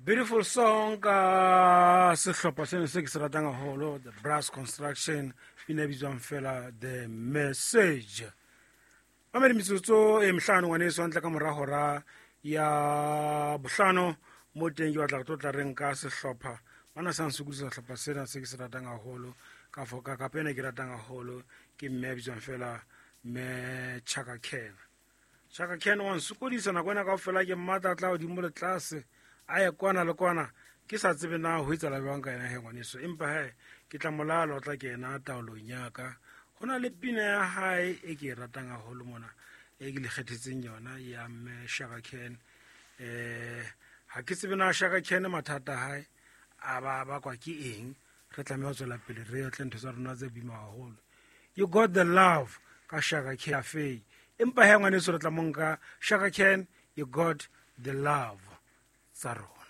Beautiful song ka sehlopha seno se ke se ratang haholo, The Brass Construction, pina e bitswang fela The Message. Mamedi, metsotso e mehlano ngwaneso hantle ka mora hora ya bohlano mo teng ke batla go tlo tla reng ka sehlopha bana sa nsokodisa. Sehlopha sena se ke se ratang haholo ka foka kapa ena ke ratang haholo ke mme a bitswang fela mme Chaka Ken. Chaka Ken wa nsokodisa nako ena kaofela, ke mmatla tla godimo le tlase, a ye kwana le kwana, ke sa tsebe na ho etsala jwang ka ena he ngwaneso, empa he ke tla molala o tla ke ena taolong yaka. Go na le pina ya hae e ke e ratang haholo mona e ke le kgethetseng yona ya mme Shaka Ken. Ha ke tsebe na Shaka Ken mathata a hae a ba bakwa ke eng. Re tlameha ho tswela pele re otle ntho tsa rona tse boima haholo. You Got the Love ka Shaka Cafe, empa he ngwaneso re tla monka Shaka Ken, You Got the Love tsa rona.